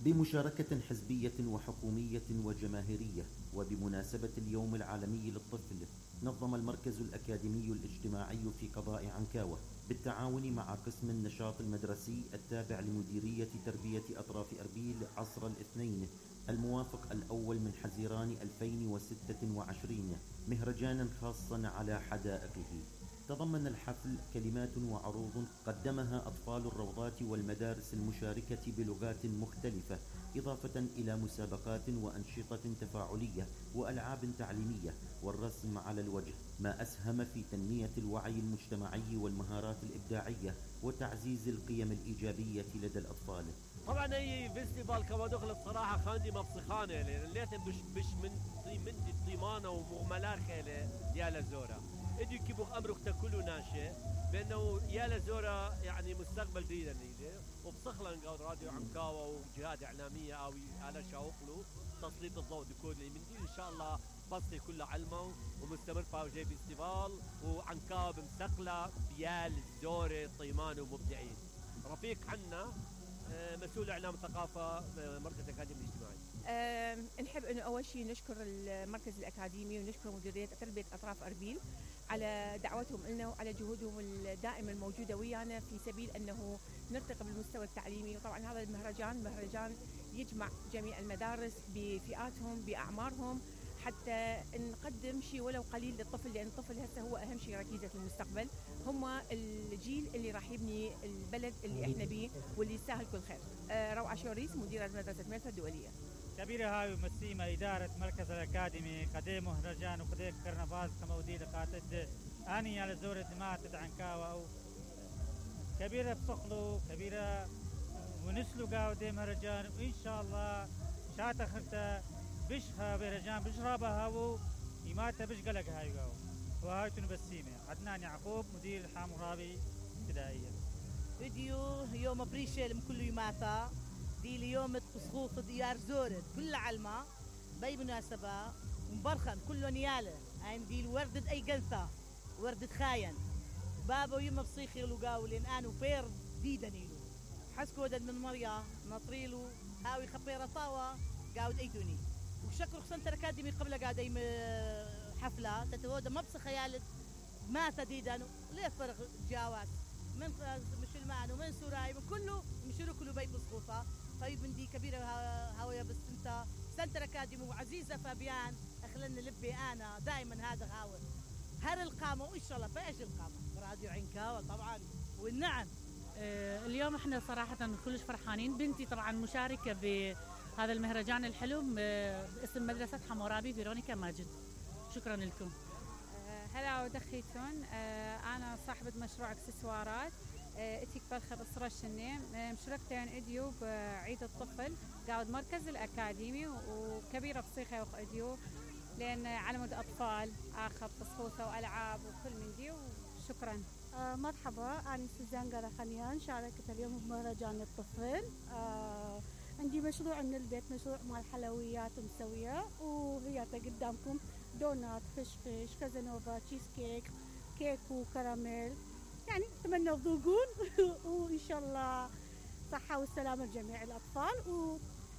بمشاركة حزبية وحكومية وجماهيرية، وبمناسبة اليوم العالمي للطفل، نظم المركز الأكاديمي الاجتماعي في قضاء عنكاوة بالتعاون مع قسم النشاط المدرسي التابع لمديرية تربية أطراف أربيل عصر الاثنين الموافق الأول من حزيران 2026 مهرجانا خاصا على حدائقه. تضمن الحفل كلمات وعروض قدمها أطفال الروضات والمدارس المشاركة بلغات مختلفة، إضافة إلى مسابقات وأنشطة تفاعلية وألعاب تعليمية والرسم على الوجه، ما أسهم في تنمية الوعي المجتمعي والمهارات الإبداعية وتعزيز القيم الإيجابية لدى الأطفال. طبعا هي فيستيفال كما دخلت صراحة خاندي مبسخانة لأن ليتن بش من طيمانة ومغملات خيلة يا لزورة ادي كيبوخ أمرك تاكلوا ناشئ بأنه يا لزورة يعني مستقبل جديد نيله وبصخلن قاود راديو عنكاوة وجهات إعلامية أو على شاوقلو تسليط الضوء دكود اللي من دي إن شاء الله بصي كله علمه ومستمر باوجي فيستيفال وعنكاوة بمستقلة بيال زورة طيمان ومبدعين. رفيق حنا مسؤول اعلام الثقافه مركز الاكاديمي الاجتماعي. نحب انه اول شيء نشكر المركز الاكاديمي ونشكر مديريه تربيه اطراف اربيل على دعوتهم لنا وعلى جهودهم الدائمه الموجوده ويانا في سبيل انه نرتقي بالمستوى التعليمي. وطبعا هذا المهرجان يجمع جميع المدارس بفئاتهم باعمارهم حتى نقدم شيء ولو قليل للطفل، لأن الطفل هسه هو أهم شيء ركيزة المستقبل، هم الجيل اللي راح يبني البلد اللي احنا بيه واللي يستاهل كل خير. روعة شوريس مديرة مدرسة ميرفت الدولية. كبيرة هاي ومسيمة إدارة مركز الأكاديمي قديم مهرجان وقديم كرنفال كمودي لقاتد أني على زورة ماتت عنكاوة أو كبيرة بصقلو كبيرة ونسلو قاودي مهرجان وإن شاء الله شاتا خرتا بشها بهرجان بشرابها هاو إماتة بش قلق هاي قاو وهاي تنبسيمة. عدنان يعقوب مدير الحامرابي ابتدائية. فيديو يوم بريشل كل يوماتا دي اليوم تسخوط ديار زورت كل علمة باي مناسبة مبرخن كله نيالة عين دي وردة أي قنثة وردة خاين بابا يوم بصيخي لقاو لين أنا بير ديدا نيلو حسكو ودد من مريا نطريلو هاوي خبيرة طاوة قاود أيتوني وشكر خصنت الأكاديمي قبل قاعدين حفلة تتهودى ما بس خيالت ما تديدا ليه فرق جاوات من مش المعنى ومن سوراي من كله مشرو كله بيت بسقوطة طيب من دي كبيرة هاوية بس انت سنت الأكاديمي وعزيزة فابيان أخلنا لبي أنا دائما هذا هاوي هر القامة وإن شاء الله بإيش القامة راديو عنكاوة طبعا والنعم. اليوم احنا صراحة كلش فرحانين. بنتي طبعا مشاركة بهذا المهرجان الحلو باسم مدرسة حمورابي فيرونيكا ماجد. شكرا لكم. هلا ودخيتون. أنا صاحبة مشروع اكسسوارات اتيك بالخ بصرة الشنيم مشاركتين اديو بعيد الطفل قاعد مركز الأكاديمي وكبيرة بصيخة وخ اديو لأن علمود أطفال آخر تصفوثة وألعاب وكل من دي. وشكرا. مرحبا أنا سوزان قرخانيان شاركت اليوم بمهرجان الطفل. عندي مشروع من البيت مشروع مال حلويات مسوية وهي قدامكم دونات فشفش كازانوفا تشيز كيك وكراميل يعني أتمنى تذوقون وإن شاء الله صحة والسلامة لجميع الأطفال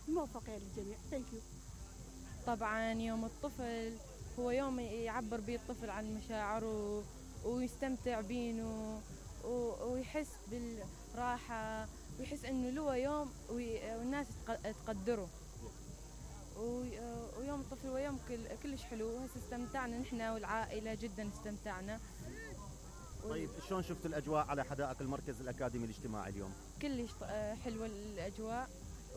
وموفقين للجميع. ثانك يو. طبعا يوم الطفل هو يوم يعبر به الطفل عن مشاعره ويستمتع بينه ويحس بالراحة ويحس انه له يوم والناس تقدره. ويوم الطفل هو يوم كلش حلو. هسه استمتعنا نحن والعائلة جدا استمتعنا. طيب شلون شفت الأجواء على حدائق المركز الأكاديمي الاجتماعي اليوم؟ كلش حلوة الأجواء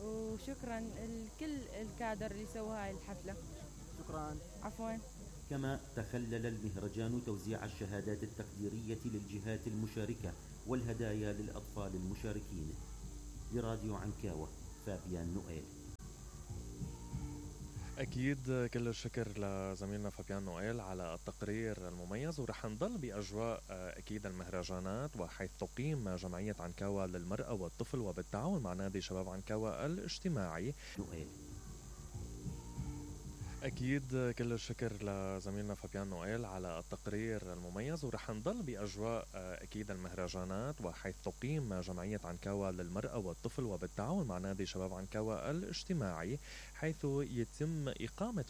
وشكرا لكل الكادر اللي سوى هاي الحفلة. شكرا. عفوا. كما تخلل المهرجان توزيع الشهادات التقديرية للجهات المشاركة والهدايا للأطفال المشاركين. لراديو عنكاوة فابيان نوئيل. أكيد كل الشكر لزميلنا فابيان نوئيل على التقرير المميز. ورح نضل بأجواء أكيد المهرجانات وحيث تقيم جمعية عنكاوة للمرأة والطفل وبالتعاون مع نادي شباب عنكاوة الاجتماعي. نوئيل. أكيد كل الشكر لزميلنا فابيان نويل على التقرير المميز، ورح نضل بأجواء أكيد المهرجانات، وحيث تقيم جمعية عنكاوا للمرأة والطفل وبالتعاون مع نادي شباب عنكاوا الاجتماعي، حيث يتم إقامة